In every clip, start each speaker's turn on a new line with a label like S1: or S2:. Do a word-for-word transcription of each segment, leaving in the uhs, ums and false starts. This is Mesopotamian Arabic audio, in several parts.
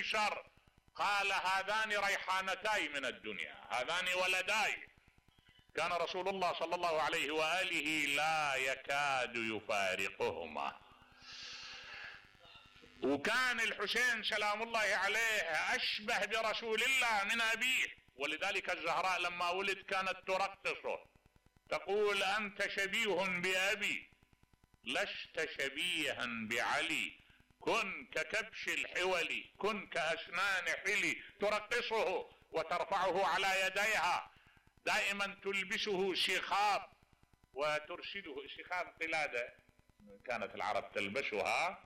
S1: ايسر؟ قال هذان ريحانتاي من الدنيا، هذان ولداي. كان رسول الله صلى الله عليه وآله لا يكاد يفارقهما. وكان الحسين سلام الله عليه أشبه برسول الله من أبيه، ولذلك الزهراء لما ولد كانت ترقصه تقول أنت شبيه بأبي لست شبيها بعلي، كن ككبش الحولي كن كأسنان حلي. ترقصه وترفعه على يديها، دائما تلبسه شخاب وترشده، شخاب قلادة كانت العرب تلبسها،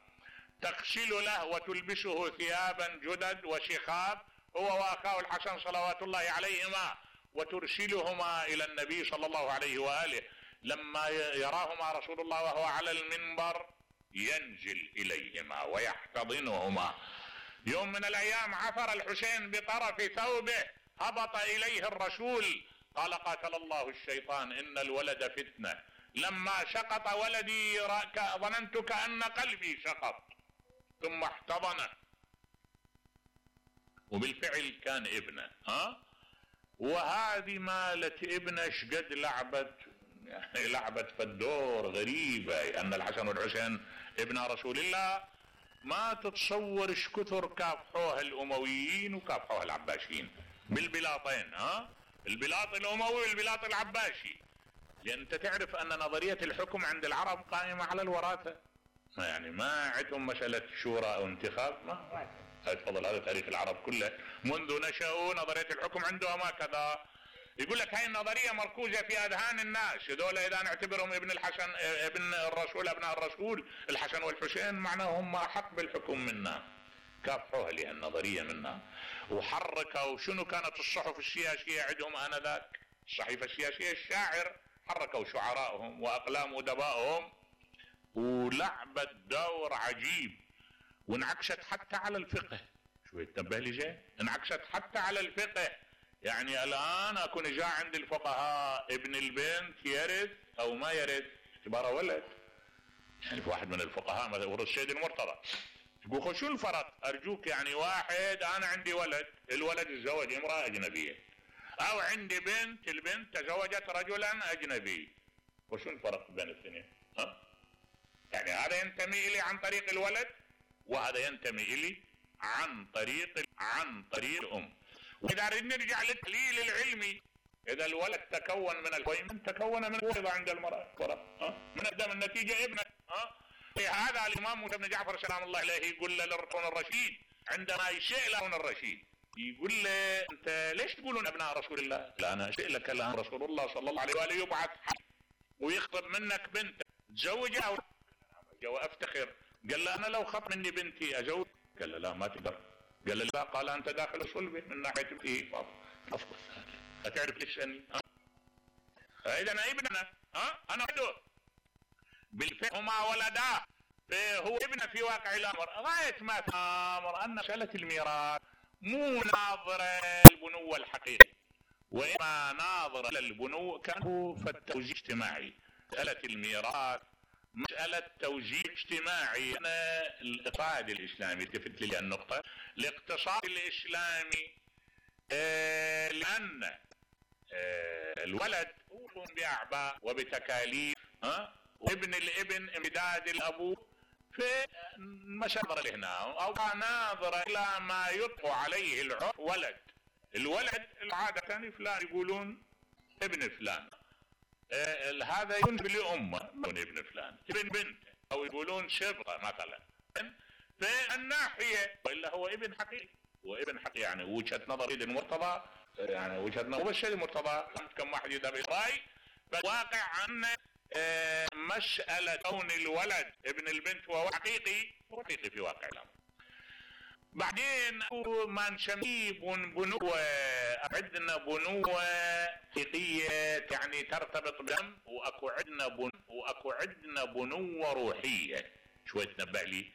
S1: تغسل له وتلبسه ثيابا جدد وشخاب هو واخاه الحسن صلوات الله عليهما، وترسلهما الى النبي صلى الله عليه وآله. لما يراهما رسول الله وهو على المنبر ينزل اليهما ويحتضنهما. يوم من الايام عثر الحسين بطرف ثوبه، هبط اليه الرسول قال قاتل الله الشيطان ان الولد فتنة، لما سقط ولدي ظننت كأن قلبي سقط، ثم احتضنه. وبالفعل كان ابنه. ها وهذه مالت ابنه شقد لعبت، يعني لعبت في الدور غريبة، ان الحسن والحسين ابن رسول الله ما تتصور ايش كثر كافحوها الامويين وكافحوها العباسيين بالبلاطين. ها البلاط الاموي والبلاط العباسي، لان انت تعرف ان نظرية الحكم عند العرب قائمة على الوراثة، يعني ما عندهم مسألة شورى او انتخاب. ما تفضل، هذا تاريخ العرب كله منذ نشأوا نظرية الحكم عندهم هكذا. يقول لك هاي النظرية مركوزة في اذهان الناس، هذول اذا نعتبرهم ابن الحسن ابن الرسول ابناء الرسول الحسن والحسين معناهم احق بالحكم منا. كافحوها لها النظرية منا وحركوا. شنو كانت الصحف السياسية عندهم انذاك؟ الصحيفة السياسية الشاعر، حركوا شعراءهم واقلام ادبائهم ولعبت دور عجيب، وانعكست حتى على الفقه. شوي تنبه لي زين، انعكست حتى على الفقه. يعني الان اكون جاء عند الفقهاء ابن البنت يرث او ما يرث اعتباره ولد. يعني في واحد من الفقهاء مثلا ورث السيد المرتضى، تقول شو الفرق؟ ارجوك يعني واحد انا عندي ولد، الولد تزوج امرأة اجنبية، او عندي بنت، البنت تزوجت رجلا اجنبي، وشو الفرق بين الاثنين؟ ها يعني هذا ينتمي الي عن طريق الولد وهذا ينتمي الي عن طريق عن طريق الام. واذا نرجع للتحليل العلمي، اذا الولد تكون من الفيمن تكون من الوضع عند المرأة، ها من الدم النتيجة ابنه. ها هذا الامام موسى بن جعفر سلام الله عليه يقول لهارون الرشيد عندما يسأل هارون الرشيد، يقول له انت ليش تقولون ابناء رسول الله؟ لا انا اسالك الان رسول الله صلى الله عليه واله يبعث ويخطب منك بنت تزوجها وافتخر. قال له انا لو خط مني بنتي ازوج؟ قال له لا ما تقدر. قال له لا، قال انت داخل صلبه من ناحيه بنتي افضل. هتعرف ليش اني اذا انا ابننا ها انا عنده بالفعل هما ولدا، هو ابنه في واقع الامر. غايه ما في الامر ان مساله الميراث مو ناظره للبنوه الحقيقي، وإما ناظره للبنوه كان فالتوزيع الاجتماعي. مساله الميراث مسألة توزيع اجتماعي. أنا الاقتصاد الإسلامي التفت لي النقطة، الاقتصاد الإسلامي آه لأن آه الولد يقوم بأعباء وبتكاليف، ها وابن الابن امداد الأبو في مشاغل هنا، أو ناظرة إلى ما يطلق عليه العرف ولد. الولد العادة فلان يقولون ابن فلان، آه هذا ينسب لأمه من ابن فلان، ابن بنت، أو يقولون شبغة مثلا. فالناحية وإلا هو ابن حقيقي، وابن حقيقي يعني وجهة نظر السيد المرتضى، يعني وجهة نظر السيد المرتضى كم واحد يذهب إلى الرأي. فالواقع أن آه مسألة كون الولد ابن البنت وهو حقيقي حقيقي في واقع الأمر. بعدين ما نسميه بنوة، عندنا بنوة حقيقية يعني ترتبط بدم، واكو عندنا بن واكو عندنا بنوة روحية. شوي تنبه لي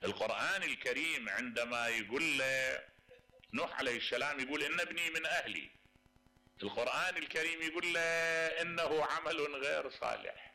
S1: القرآن الكريم عندما يقول له نوح عليه السلام يقول ان ابني من اهلي، القرآن الكريم يقول له انه عمل غير صالح.